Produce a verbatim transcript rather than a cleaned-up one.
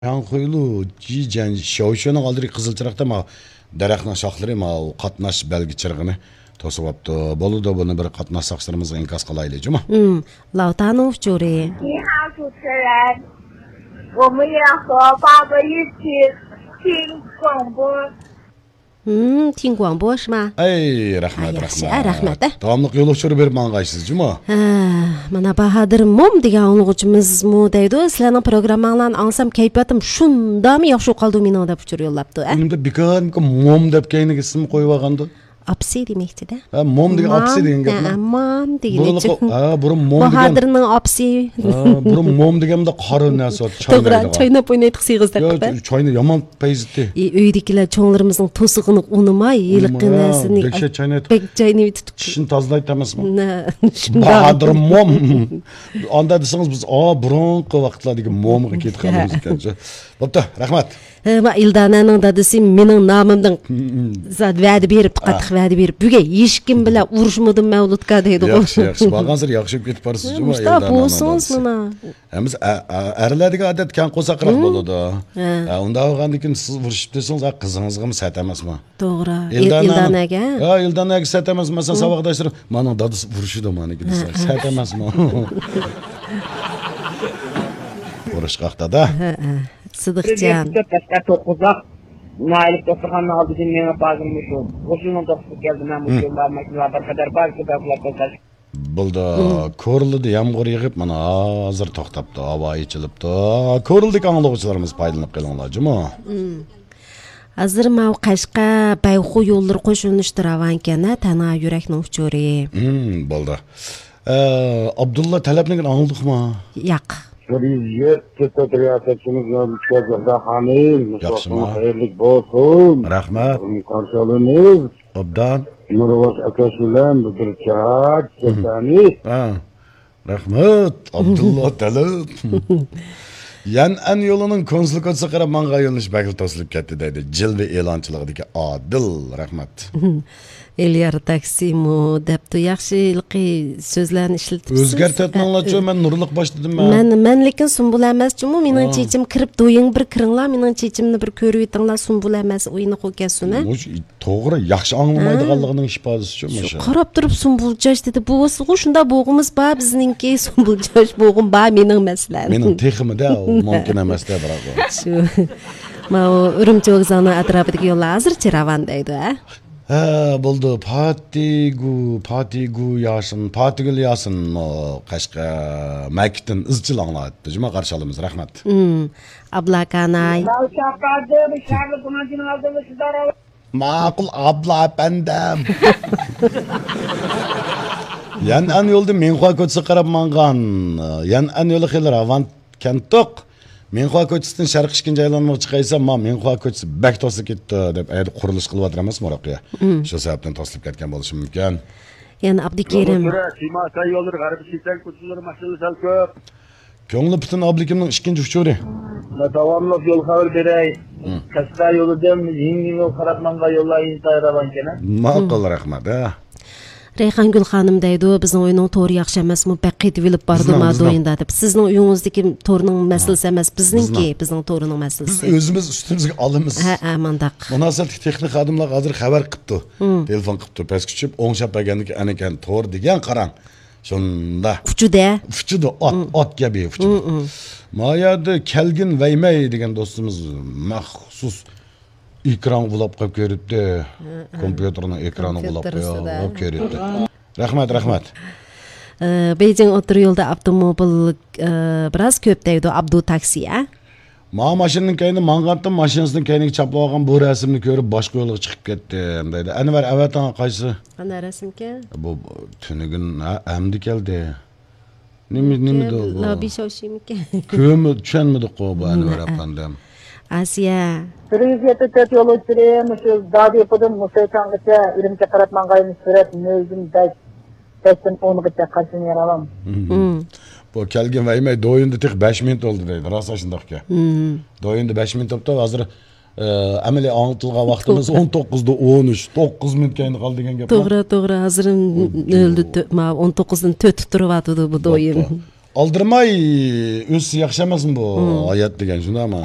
شياڭخۇيلۇ جىجەن شياۋشۈنىڭ ئالدىدىكى قىزىل چىراغدا ما دەرەخنىڭ شاخلىرى ما قاتناش بەلگە چىرىغىنى توسۇۋاپتۇ. بولىدۇ، بۇنى بىر قاتناش ساقچىلىرىمىزغا ئىنكاس قىلايلى، جۇمۇ. 嗯，老大弄 جورى. 你好，主持人，我们也和宝宝一起听广播。 ھىم، تىڭگۇاڭبوشما؟ ئەي، رەھمەت، ھە، ياخشى، رەھمەت. ھە، رەھمەت، ھە. داۋاملىق يول ئۇچۇرى بېرىپ ماڭغايسىز، جۇمۇ. ھە، مانا باھادىر موم دېگەن ئاڭلىغۇچىمىزمۇ دەيدۇ، سىلەرنىڭ پروگرامماڭلارنى ئاڭلىسام كەيپىياتىم شۇنداقمۇ ياخشى بولۇپ قالدى مېنىڭ دەپ ئۇچۇر يوللاپتۇ، ھە. ئۇنىڭدا بىكارمىكى موم دەپ كەينىگە ئىسىم قويۇۋالغاندا. ئاپىسى دېمەكچىدە. ھە، موم دېگەن مام، ئاپىسى دېگەن گەپمۇ؟ ھە، مام دېگىنى. بۇرۇنقى، ھە، بۇرۇن موم دېگەن. باھادىرنىڭ ئاپىسى. ھە، بۇرۇن موم دېگەندە قارا نەرسە، توغرا، چاينايدىغان. چايناپ ئوينايتتۇق سېغىز يا، دەپ. چاينى يامان پەيزىتى. ئى، ئۆيدىكىلەر چوڭلىرىمىزنىڭ توسىقىنى ئۇنىماي، ھېلىقى نەرسىنى دەھشەت چاينايتتۇق. بەك چاينىۋېتىتتۇق. چىشىنى تازىلايتتى ئەمەسمۇ؟ نە، شۇنداق. باھادىر موم. ئاندا دېسىڭىز بىز، ئا، بۇرۇنقى ۋاقىتلاردىكى مومغا كېتىپ قالىمىز ئىكەن. بوپتۇ، رەھمەت. ھە، ما ئىلدانەنىڭ دادىسى مېنىڭ نامىمدىن زاد ۋەدە بېرىپ، قاتتىق ۋەدە بېرىپ، بۈگۈن ھېچكىم بىلەن ئۇرۇشمىدىم مەۋلۇتكا دەيدىغۇ. ياخشى، ياخشى. بارغانسېرى ياخشى بولۇپ كېتىپ بارسىز، جۇمۇ، مۇشۇنداق ئىلدانەنىڭ بولسىڭىز دادىسى. مانا. ھەممىز ئە-، ئە-، ئەرلەردىكى ئادەت كەڭ قورساقراق بولىدۇ. ھە. ھە، ئۇنداق بولغاندىن كېيىن سىز ئۇرۇشۇپ دېسىڭىز، ھە، قىزىڭىزغىمۇ سەت ئەمەسمۇ؟ توغرا. ئىلدانەنىڭ، ئىلدانەگە؟ ھە، ئىلدانەگە سەت ئەمەسمۇ؟ مەسىلەن، ساۋاقداشلىرىم، مانىڭ دادىسى ئۇرۇشىدۇ مانىڭكى دېسە، ھە، ھە. سەت ئەمەسمۇ؟ ئۇرۇشقاق دادا. ھە، ھە. سىدىقجان. بىز يەتتە قەشقەر توققۇزاق نائىلىپ دوختۇرخانىنىڭ ئالدىدىن مېڭىپ ھازىر مۇشۇ غۇسۇلنىڭ توختىتىپ كەلدىم. مەن مۇشۇ بار ماشىنىلار بىر قەدەر بار، شۇ بەربۇلار توختاش. بولدى. كورلىدا يامغۇر يېغىپ، مانا ھازىر توختاپتۇ، ھاۋا ئېچىلىپتۇ. كورلىدىكى ئاڭلىغۇچىلىرىمىز پايدىلىنىپ قېلىڭلار، جۇمۇ. ھازىر ماۋۇ قەشقەر، بەيخۇ يوللىرى قوشۇلۇشتا راۋانكەن، ھە، تەنھا يۈرەكنىڭ ئۇچۇرى. ھىم، بولدى. ئە، ئابدۇللا تەلەپنىڭكىنى ئاڭلىدۇقمۇ؟ ياق. بىر يۈز يەتتە تۆت رىياسەتچىمىز بىلەن ئۇچراشتۇق خانىم. ياخشىما. ۋاقتىڭىز خەيرلىك بولسۇن. رەھمەت. قارشى ئالىمىز. ئوبدان. نۇرۋاش ئاكاش بىلەن بىر چاق سۆزلەرنى. ھە. رەھمەت، ئابدۇللا تەلەپ. يەنئەن يولىنىڭ كونسۇل كوچىسىغا قاراپ ماڭغان يۆنىلىش بەكلا توسۇلۇپ كەتتى دەيدۇ. جىلۋە ئېلانچىلىقىدىكى ئادىل. رەھمەت. ئېليار تاكسىمۇ دەپتۇ، ياخشى ھېلىقى سۆزلەرنى ئىشلىتىپسىز. ئۆزگەرتىۋەتمەڭلارچۇ، مەن نۇرلۇق باشلىدىم مەن. مەن، مەن لېكىن سۇمبۇل ئەمەسچۇمۇ، مېنىڭ چېچىم كىرىپ، دويۇڭ بىر كىرىڭلار، مېنىڭ چېچىمنى بىر كۆرۈۋېتىڭلار، سۇمبۇل ئەمەس، ئوينىقۇ كەلسۇن، ھە؟ مۇشۇ توغرا، ياخشى ئاڭلىمايدىغانلىقىنىڭ ئىپادىسىچۇ مۇشۇ. قاراپ تۇرۇپ سۇمبۇل چاچ دېدى، بولسىغۇ، شۇنداق بولغۇمىز بار بىزنىڭكى، سۇمبۇل چاچ بولغۇم بار مېنىڭ مەسىلەن. مېنىڭ تېخىمۇ-دە، ئۇ مۇمكىن ئەمەس-دە، بىراق ئۇ. شۇ. ماۋۇ ئۈرۈمچى ۋوگزالىنىڭ ئەتراپىدىكى يوللار ھازىرچە راۋان دەيدۇ، ھە؟ ھە، بولدى. پاتىگۈ، پاتىگۈ ياسىن، پاتىگۈل ياسىن، ئۇ، قەشقەر مەكىتتىن ئىزچىل ئاڭلاۋاتىدۇ. جۇمۇ، قارشى ئالىمىز، رەھمەت. ئابلا كاناي. ماۋۇ چاپاردى، بۇ شەھەرلىك گۇمانچىنىڭ ئالدىدا شۇنداق راۋان. ماقۇل، ئابلا ئەپەندىم. يەنئەن يولىدا مىڭخۇا كوچىسىغا قاراپ ماڭغان. يەنئەن يولى خېلى راۋان كەنتۇق. مىڭخۇا كوچىسىدىن شەرقىي ئىككىنچى ئايلانمىغا چىقايسام، ما مىڭخۇا كوچىسى بەك توسۇلۇپ كېتىپتۇ دەپ، ئەيدە قۇرۇلۇش قىلىۋاتىدۇ ئەمەسمۇ ھېلىقى. شۇ سەۋەبتىن توسۇلۇپ كەتكەن بولۇشى مۇمكىن. يەنە ئابدۇكېرىم. يولدا سۈرە، شىما سەي يوللىرى، غەربىي شىسەن كوچىلىرى ماشىنىلار سەل كۆپ. كۆڭلى پۈتۈن ئابلىكىمنىڭ ئىككىنچى ئۇچۇرى. داۋاملىق يول خەۋىرى بېرەي. قەشقەر يولىدىن يېڭى يولغا قاراپ ماڭغان يوللار ئىنتايىن راۋانكەن. ماقۇل، رەھمەت، ھە. رەيھانگۈل خانىم دەيدۇ، بىزنىڭ ئۆينىڭ تورى ياخشى ئەمەسمۇ، بەك قېتىۋېلىپ بارىدۇ ما دويۇندا دەپ. سىزنىڭ ئۆيىڭىزدىكى تورنىڭ مەسىلىسى ئەمەس، بىزنىڭكى، بىزنىڭ تورىنىڭ مەسىلىسى. بىز ئۆزىمىز ئۈستىمىزگە ئالىمىز. ھە، ھە، مانداق. مۇناسىۋەتلىك تېخنىك خادىملارغا ھازىر خەۋەر قىپتۇ. تېلېفون قىپتۇ، پەسكە چۈشۈپ، ئوڭشاپ بەرگەندىكىن ئەنىكەن تور دېگەن قاراڭ. شۇنداق. ئۇچىدۇ. ئۇچىدۇ، ئات، ئات كەبى ئۇچىدۇ. ما يەردە كەلگىن ۋەيمەي دېگەن دوستىمىز مەخسۇس ئېكرانغا ئۇلاپ قويۇپ كۆرۈپتى. كومپيۇتېرنىڭ ئېكرانىغا ئۇلاپ قويۇپ كۆرۈپتى. رەھمەت، رەھمەت. ئى، بېيجىڭ ئوتتۇرا يولدا ئاپتوموبىل، ئى، بىراز كۆپ دەيدۇ، ئابدۇ تاكسى، ھە؟ ماۋۇ ماشىنىنىڭ كەينىدە ماڭغانتىم، ماشىنىسىنىڭ كەينىگە چاپلىۋالغان بۇ رەسىمنى كۆرۈپ باشقا يولغا چىقىپ كەتتىم دەيدۇ. ئەنۋەر ئەۋەتىڭ قايسى؟ ئانا رەسىمكەن؟ بۇ، بۇ تۈنۈگۈن، ھە، ئەمدى كەلدى. نېمە، نېمىدۇ بۇ؟ لابى شاۋشىمىكەن؟ كۆمە-، چۈشەنمىدۇققۇ بۇ ئەنۋەر ئەپەندىم. ئاسىيە. بىر يۈز يەتتە تۆت يول ئۇچۇرى، مۇشۇ دادىپۇدىن مۇسەيچاڭغىچە ئۈرۈمچىگە قاراپ ماڭغان سۈرئەت نۆلدىن بەش، بەشتىن ئونغىچە قارشى راۋان. بۇ كەلگىن ۋەيمەي دويۇندا تېخى بەش مىنۇت بولدى دەيدۇ. راست شۇنداقكەن. دويۇندا بەش مىنۇت بوپتۇ، ھازىر ئەمەلىي ئاڭلىتىلغان ۋاقتىمىز ئون توققۇزدا ئون ئۈچ، توققۇز مىنۇت كەينىدە قالدى دېگەن گەپ. توغرا، توغرا. ھازىر نۆلدە تۆ-، ما، ئون توققۇزدىن تۆتتە تۇرۇۋاتىدۇ بۇ دويۇن. بوپتۇ. ئالدىرىماي ئۆتسە ياخشى ئەمەسمۇ بۇ ھايات دېگەن، شۇنداقمۇ؟